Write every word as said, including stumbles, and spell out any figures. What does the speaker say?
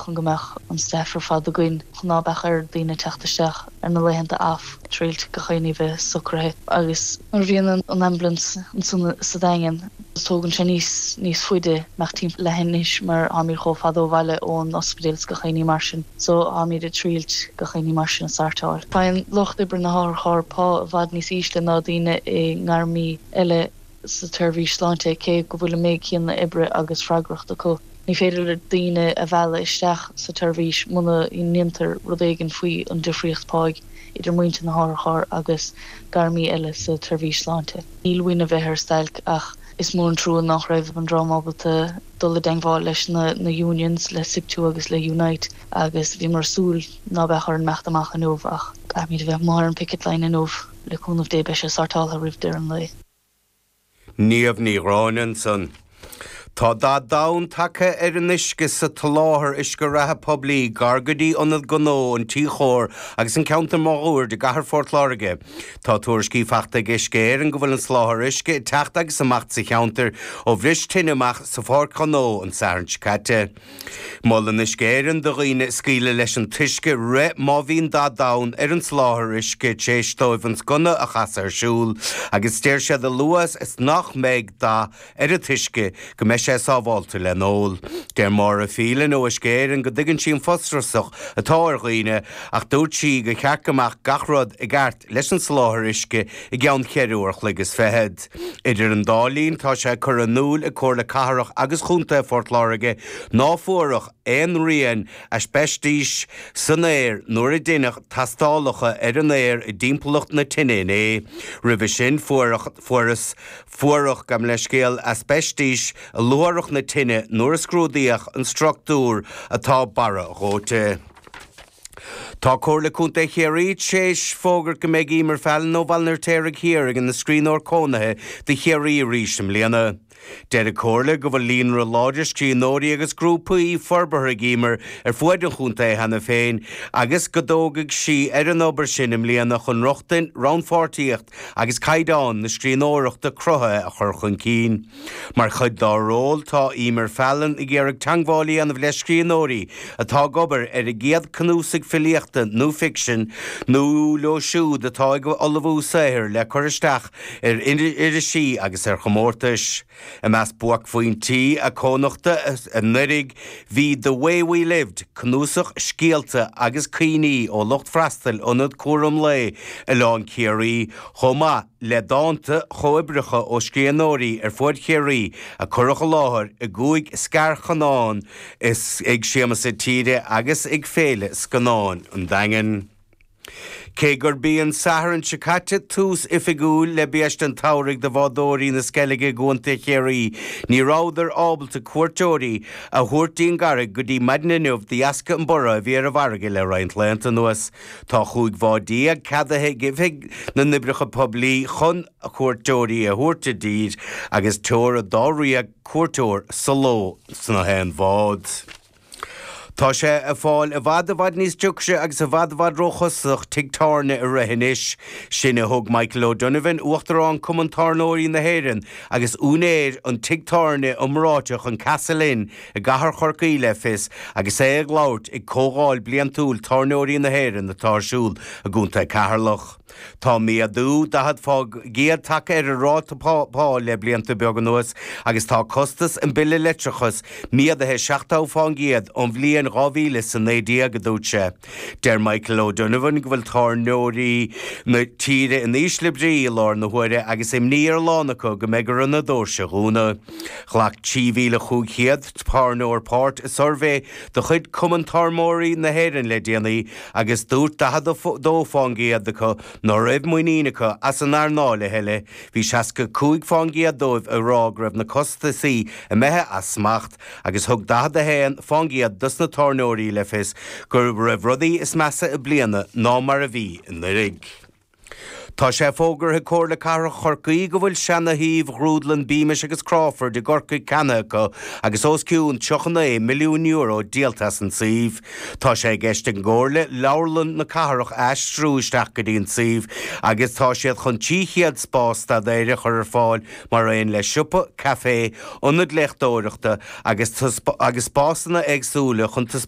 chun go mbeadh an staff ar fad againn chun ná beadh ar daoine teacht isteach ar na laethanta off triail gach aon ní bheith socraithe agus nuair a bhíonn an ambulance ansan sa Daingean tógann sé níos níos faide nach timpeall leathinis mar táimid chomh fada ó bhaile ón ospidéal is gach aon ní mar sin so táimid ag triail gach aon ní mar sin a sortáil. Faigheann lucht oibre na hotharchairr pá i bhfad níos ísle ná daoine i ngairmí eile sa tseirbhís sláinte cé go bhfuil an méid céanna oibre agus freagracht acu. Ní féidir le daoine a mhealladh isteach sa tseirbhís muna ndéantar rud éigin faoi an difríocht páigh idir muintir na hotharchairr agus gairmí eile sa tseirbhís sláinte. Níl uainn a bheith ar stailc ach is mór an trua nach raibh an dream ábalta dul i dteagmháil leis na, na unions le SIPTU agus le Unite agus bhíomar ag súil ná beadh orainn imeacht amach inniu ach caithfimid a bheith amuigh ar an picket line inniu le cúnamh Dé beidh sé sortáltha roimh deireadh an lae. Niamh Ní Ghráinne ansan. Tá dath donn tagtha ar an uisce sa tsoláthar uisce reatha poiblí gar go dtí ionad gnó an Tí Chóir agus an ceantar máguaird i gcathair Phort Láirge. Tá tuairiscí faighte ag Uisce Éireann go bhfuil an soláthar uisce ag teacht agus amach sa cheantar ó bhris tine amach sa pháirc ghnó an Satharn seo caite. Molann Uisce Éireann do dhaoine scaoileadh leis an t-uisce rith má bhíonn dath donn ar an soláthar uisce tar éis dóibh an sconna a chasadh ar siúl, agus deir siad a luaithe is nach mbeidh dath ar an t-uisce go mbeidh sé sábháilte le n-ól. Deir Máire Phelan ó Uisce Éireann go dtuigeann sí an frustrachas atá ar dhaoine ach dúirt sí gur cheart go mbeadh gach rud i gceart leis an soláthar uisce i gceann ceithre uair an chloig is fichead. Idir an dá linn tá sé curtha in iúl ag Comhairle Cathrach agus Chontae Phort Láirge ná fuarthas aon rian aispeistis san aer nuair a deineadh tástálacha ar an aer i dtimpeallacht na tine inné. Roimhe sin fuarthas fuarthas gabh mo leithscéal aispeistis i luaithreach na tine nuair a scrúdaíodh an struchtúr atá barra dhóite. Tá Comhairle Contae Chiarraí tar éis fógairt go mbeidh Emer Fallon ó Bhaile an Fheirtéaraigh Thiar ina scríbhneoir cónaithe do Chiarraí arís i mbliana. Deir an Chomhairle go bhfuil líonra láidir scríbhneoirí agus grúpaí forbartha ag Emer ar fuaid an chontae cheana féin agus go dtógfaidh sí ar an obair sin i mbliana chun rochtain, rannpháirtíocht agus caighdeán na scríbhneoireachta cruthaithe a chur chun cinn. Mar chuid dá ról tá Emer Fallon ag iarraidh teagmháil a dhéanamh le scríbhneoirí atá ag obair ar a gcéad cnuasach filíochta nó ficsin nó leo siúd atá ag ullmhú saothair le cur isteach ar irisí agus ar chomórtais. I measc buaicphointí a cónachta anuraidh bhí The Way We Lived, cnuasach scéalta agus cuimhní ó lucht freastail ionad cúram lae Oileán Ciarraí chomh maith le dánta comhoibríocha ó scríbhneoirí ar fud Chiarraí a cuireadh i láthair i gcúig scarscannán is ag Siamsa Tíre agus ag Féile Scannáin an Daingin. Cé gurb í an Satharn seo caite tús oifigiúil le biaiste an tsamhraidh do bhádóirí na Sceilge i gContae Chiarraí, ní rabhadar ábalta cuairteoirí a thabhairt dtí'n gCarraig go dtí maidin inniu de dheasca an borradh a bhí ar an bhfarraige le roinnt laethanta anuas. Tá chúig bhád déag ceadaithe ag Oifig na nOibreacha Poiblí chun cuairteoirí a thabhairt i dtír agus teora dáréag cuairteoir sa ló sna haon bhád. Tá sé ag fáil i bhfad i bhfad níos deacra agus i bhfad i bhfad róchostasach tigh tábhairne a rith anois. Sin a thug Michael O'Donovan, Uachtarán Cumann Tábhairneoirí na hÉireann agus úinéir an tigh tábhairne iomráiteach an Castle Inn i gcathair Chorcaí le fios agus é ag labhairt ag comhdháil bliantúil tábhairneoirí na hÉireann atá ar siúl i gContae Ceatharlach. Tá méadú daichead faoin gcéad tagtha ar an ráta pá le blianta beaga anuas agus tá costas an bille leictreachais méadaithe seachtó faoin gcéad ón bhliain dhá mhíle is a naoi déag, a dúirt sé. Deir Michael O'Donovan go bhfuil tábhairneoirí na tíre in ísle brí i láthair na huaire agus imní ar a lán acu go mbeidh orthu na doirse a dhúnadh. Ghlac trí mhíle chúig chéad tábhairneoir páirt i suirbhé de chuid Cumann Tábhairneoirí na hÉireann le déanaí agus dúirt daichead a dó faoin gcéad acu ná raibh muinín acu as an earnáil a thuilleadh. Bhí seasca cúig faoin gcéad dóibh ag rá go raibh na costasaí imithe as smacht agus thug daichead a haon faoin gcéad dos na tábhairneoirí le fios go raibh rudaí níos measa i mbliana ná mar a bhí anuraidh. Tá sé fógartha ag Comhairle Cathrach Chorcaí go bhfuil seana-shuíomh Ghrúdlann Beamish agus Crawford i gCorcaigh ceannaithe acu agus os cionn tríocha naoi milliún euro díolta as an suíomh. Tá sé i gceist ag an gComhairle leabharlann na cathrach a aistriú isteach go dtí an suíomh agus tá siad chun trí chéad spás staidéir a chur ar fáil mar aon le siopa, caife, ionad léachtóireachta agus agus spásanna éagsúla chun taispeántais